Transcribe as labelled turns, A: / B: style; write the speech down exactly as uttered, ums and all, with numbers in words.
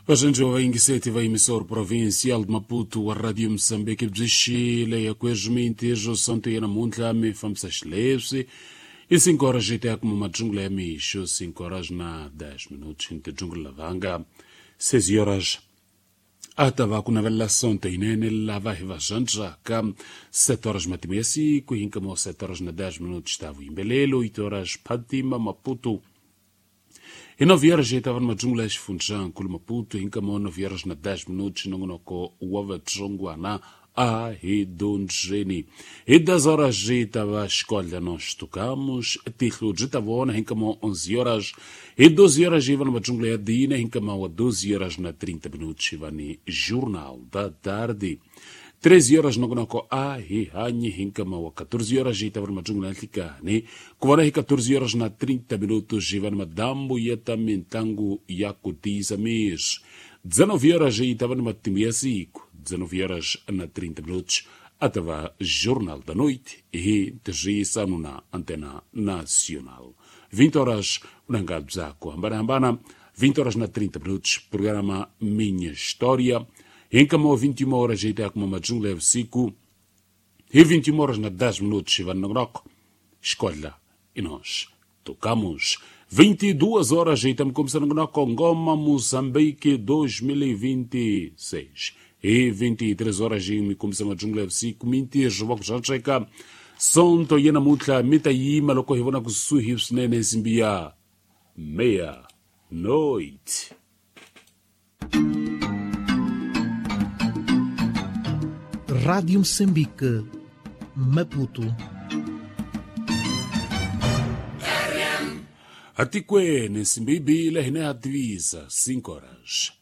A: Vaxandziwa vayingiseti va emisor provincial de Maputo wa Radio Moçambique byi xile ya kwezwi sonto ya namuntlha mi fambisa xileswi i cinco horas yi ta ya kuma madzungula ya mixo cinco horas na dez minutos ni tidzungula lavanga seis horas a ta va ku navelela sonto yinene lava hi va zwandzaka sete horas matimu ya siku hi nkama wa sete horas na dez minutos ta vuyimbelelo oito horas Fatima Maputo. Hi nove horas já estava numa jungla ya xifundzankulu Maputo hi nkama wa nove horas na dez minutos nongonoko wa vatsongwana a hi dyondzeni. Hi dez horas já estava escolha nós tocamos tihlo byi ta vona hi nkama wa onze horas. Hi doze horas já iva numa jungla ya dina hi nkama wa doze horas na trinta minutos iva ni Jornal da Tarde. treze horas nongonoko a hi hanyi hi nkama wa catorze horas hi tava numa jungla ya nhlikani ku vona hi catorze horas na trinta minutos hi va ni madambu ya ta mintlangu ya ku tiyisa miri. dezenove horas hi tava ni matimu ya siku dezenove horas na trinta minutos a ta va Jornal da Noite hi tirhisano na Antena Nacional. vinte horas unanga bya ku hambanahambana vinte horas na trinta minutos programa Minha História. Hi nkama wa vinte e uma horas hi ta ya kuma madzungula ya vusiku. Hi vinte e uma horas na dez minutos hi va nongonoko Escolha e nós tocamos. vinte e duas horas hi ta mi kombisa nongonoko Ngoma Moçambique dois mil e vinte e seis. Hi vinte e três horas hi mi kombisa madzungula ya vusiku mintirho wa ku zwandzeka sonto ya namuntlha mi ta yima loko hi vona kusuhi swinene nsimbi ya meia noite.
B: Rádio Moçambique, Maputo.
A: Atikweni nsimbi yi bile hina ya tivisa cinco horas